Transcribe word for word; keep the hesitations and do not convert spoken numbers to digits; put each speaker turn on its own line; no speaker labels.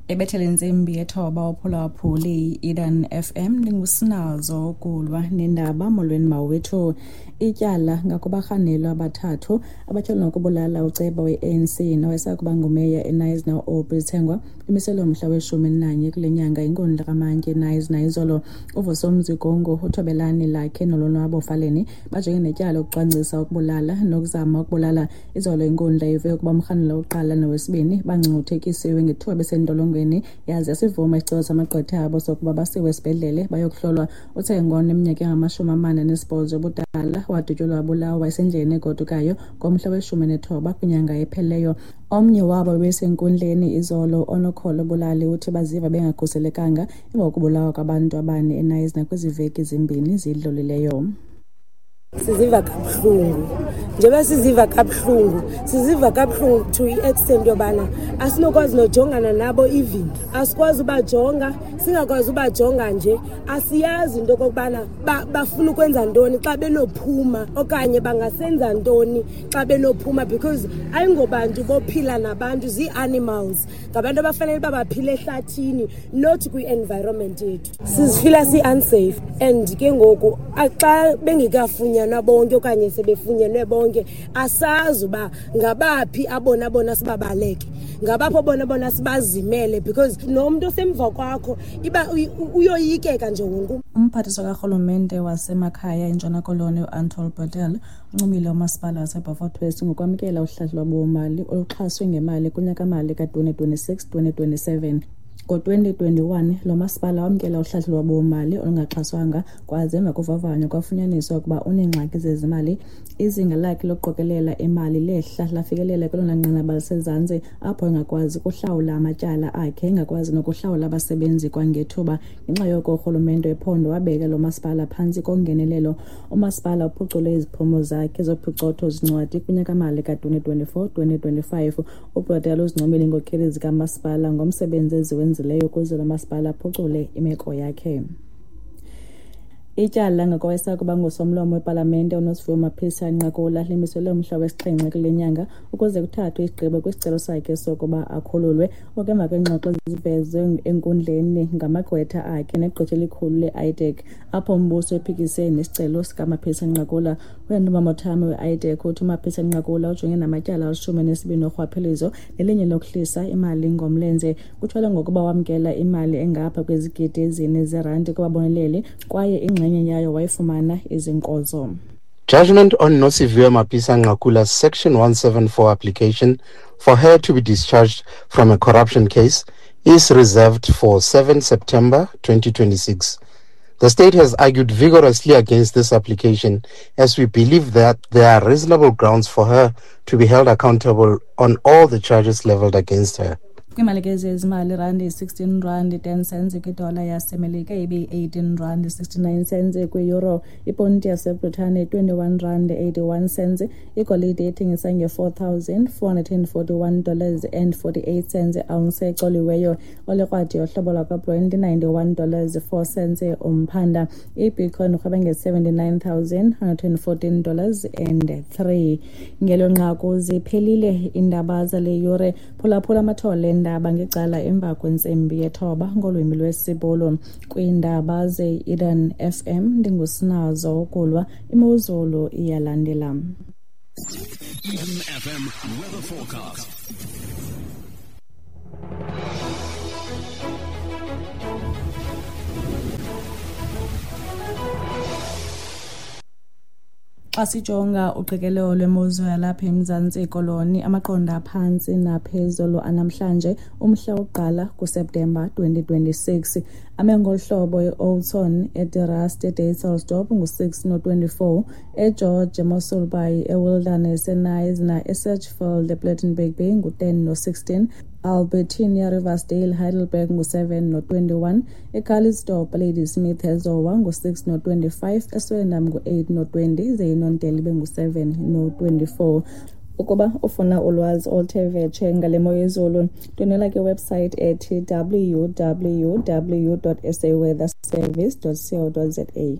Ebethele intsimbi yethoba uphulaphuli i-Eden F M ndingusinazo ukulwa nendaba. Molweni mawethu. Ityala ngakubarhanelwa abathathu abatyholwa ngokubulala uceba we-A N C nowayesakuba ngumeya eKnysna u-Aubrey Tsengwa imiselwe umhla weshumi elinanye kule nyanga inkundla kamantyi eKnysna izolo. UVusomzi Gongo, uThobelani Lakhe noLonwabo Faleni bajongene netyala lokucwangcisa ukubulala nokuzama ukubulala. Izolo inkundla ive ukuba umrhanelwa wokuqala nowesibini bangcungcuthekisiwe ngethuba besentolongweni yaze yasivuma isicelo samagqwetha abo sokuba basiwe esibhedlele bayokuhlolwa. UTsengwa oneminyaka engamashumi amane anesibhozo ubudala wadutyulwa wabulawa esendleleni egodukayo ngomhla weshumi nethoba kwinyanga ephelileyo. Omnye wabo bebesenkundleni izolo, onokholo Bulali, uthi baziva bengakhuselekanga emva kokubulawa kwabantu abane eKnysna kwezi veki zimbini zidlulileyo.
Siziva kabuhlungu. Njengoba siziva kabuhlungu, siziva kabuhlungu to i-extent yobana asinokwazi nojongana nabo even. Asikwazi ubajonga, singakwazi ubajonga nje. Asiyazi into okokubana bafuna ukwenza ntoni xa benophuma okanye bangasenza ntoni xa benophuma, because ayingobantu bophila nabantu, zii-animals. Ngabantu abafanele uba baphile ehlathini, not kwi-environment yethu. Sizifila si-unsafe and ke ngoku xa bengekafunyanwa bonke okanye sebefunyenwe bonke, asazi uba ngabaphi abona bona sibabaleke, ngabaphi abona bona sibazimele, because nomntu osemva kwakho iba uyoyikeka nje wonke.
Umphathiswa karhulumente wasemakhaya eNtshona Koloni uAnthol Bredell uncomile umasipala waseBeaufort West ngokwamkela uhlahlo lwabiwomali oluxhaswe ngemali kunyaka-mali ka-twenty twenty-six twenty twenty-seven. Ngo-twenty twenty-one lo masipala wamkela uhlahlo lwabiwomali olungaxhaswanga kwaze emva kovavanyo kwafunyaniswa ukuba uneengxaki zezimali. Izinga lakhe lokuqokelela imali lehla lafikelela kwelona nqanaba lisezantsi apho engakwazi ukuhlawula amatyala akhe, engakwazi nokuhlawula abasebenzi kwangethuba. Ngenxa yoko urhulumente wephondo wabeka lo masipala phantsi kongenelelo. Umasipala uphucule iziphumo zakhe zophicotho zincwadi kunyaka-mali ka-twenty twenty-four twenty twenty-five. UBredell uzincomile iinkokheli zikamasipala ngomsebenzi eziwenzileyo ukuze lo masipala aphucule imeko yakhe. Ityala ngokowayesakuba ngusomlomo wepalamente uNosiviwe Mapisa Nqakula limiselwe umhla wesixhenxe kule nyanga ukuze kuthathwe isigqibo kwisicelo sakhe sokuba akhululwe. Oku emva kweengxoxo ezivezwe enkundleni ngamagqwetha akhe negqwetha elikhulu le-I D E C, apho umbuso ephikise nesicelo sikaMapisa Nqakula. UYandumba Mothame we-I D E C uthi uMapisa Nqakula ujongene namatyala alishumi nesibini orhwaphilizo nelinye lokuhlisa imali ngomlenze. Kutyholwa ngokuba wamkela imali engapha kwezigidi ezine zeerandi kubaboneleli kwaye ingxenye yayo wayifumana izinkozo.
Judgment on Nosiviwe Mapisa Nqakula's Section one seven four application for her to be discharged from a corruption case is reserved for seventh September twenty twenty-six. The state has argued vigorously against this application as we believe that there are reasonable grounds for her to be held accountable on all the charges leveled against her.
Kwimali ke zezimali, irandi sixteen rand ten cents kwidola yaseMelika, ibe eighteen rand sixty-nine cents kwi-euro, iponti yaseBritane twenty-one rand eighty-one cents, igolide ethengisa nge-four thousand four hundred and forty-one dollars and forty-eight cents ounce ecoliweyo, olekrwadi yohlobo lwakwaBrent ninety-one dollars four cents umphanda, iBitcoin irhweba nge-seventy-nine thousand hundred and fourteen dollars and three. Ngelo nqaku ziphelile iindaba zale yure. Phulaphula amathole endaba ngecala emva kwentsimbi yethoba ngolwimi lwesiBhulu. Kwiindaba ze-Eden F M ndingusinazo ukulwa, imozulu iyalandela.
Eden F M weather forecast.
Xa sijonga uqikelelo lwemozulu yalapha eMzantsi Koloni, amaqondo aphantsi naphezulu anamhlanje umhla wokuqala kuSeptemba twenty twenty-six. Ame ngolu hlobo: eOudtshoorn, eDe-Rust, eDysselsdorp ngu-six no-twenty-four, eGeorge, eMossel Bay, eWilderness, eKnysna, eSedgefield, ePlettenberg Bay ngu-ten no-sixteen, Albertinia, Riversdale, Heidelberg ngu-seven no-twenty-one, eCalitzdorp, Ladysmith, eZowa ngu-six no-twenty-five, eSwellendam ngu-eight no-twenty, ze iNontele ibe ngu-seven no-twenty-four. Ukuba ufuna ulwazi oluthe vetshe ngale mo yezulu, ndwendwela kwiwebsite ethi w w w dot s a weather service dot co dot z a.